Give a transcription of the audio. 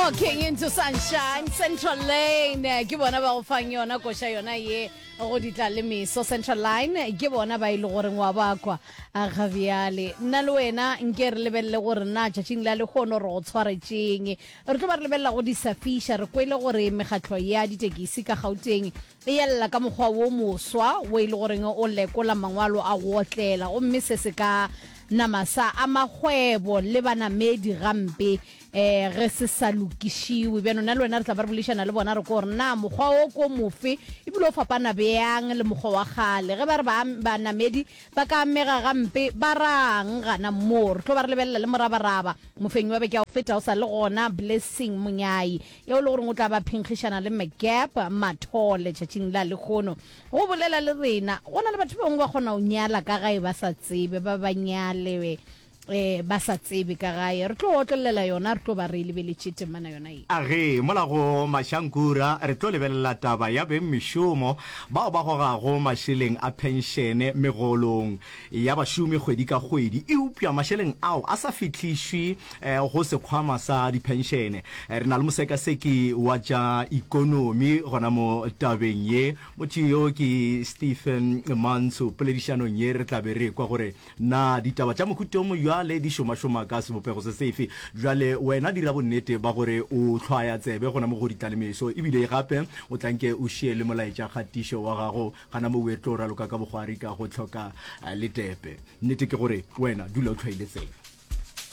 Walking into sunshine, Central Lane ke bona ba go fang yona koša yona ye go ditla le meso. Central Line ke bona ba e le goreng wa ba kwa ga bjale. Nna le wena nke re lebelele gore na tšatšing la lehono re go tshwaretšeng. Re tlo ba re lebelela go di sa fiša. Re kwele gore mekgatlo ya ditekisi ka Gauteng e ella ka mokgwa wo moswa wo e le goreng o lekola mangwalo a go otlela gomme se se ka nama sa ama kgwebo le banamedi gampe um ge se sa lokišiwe. Bjano nna le wena re tla ba re boledišana le bona re ko gore na mokgwa wo ko mofe ebile o fapana bjang le mokgwa wa kgale. Ge ba re banamedi ba ka amega gampe ba rang gana moo? Re tlo ba re lebelela le morabaraba mofenyi wa beke ya go feta o sa le gona Blessing Monyai Yeo e le goreng o tla ba phenkgišana le McGap Mathole tšatšing la lehono. Go bolela le rena, go na le batho ba bangwe ba kgona go nyala ka gae ba sa tsebe, ba ba nyale eh, ba sa tsebe ka gae. Re tlo otlelela yona, re tlo ba re e lebeletše temana yona ye. A ge, mola go Mashankura re tlo lebelela taba ya bengmešomo bao ba gogago mašeleng a phenšene megolong ya bašomi kgwedi ka kgwedi, eupša mašeleng ao a sa fihlišwe go sekhwama sa diphenšene. Re na le mosekaseki wa tša ikonomi gona mo tabeng ye. Motho yo ke Stephen Mantsho. Poledišanong ye re tla be re ekwa gore na ditaba tša mohuta o mobjale di šomašoma ka sebopego se sefe. Bjale wena dira bonnete ba gore o hlwaya tsebe gona mo go Ditlalemeso, ebile gape o tla nke o šie le molaetša kgatišo wa gago Gana mo o tlo raloka ka bokgwari ka go hloka letepe. Nnete ke gore wena dula o hlwaile tsebe.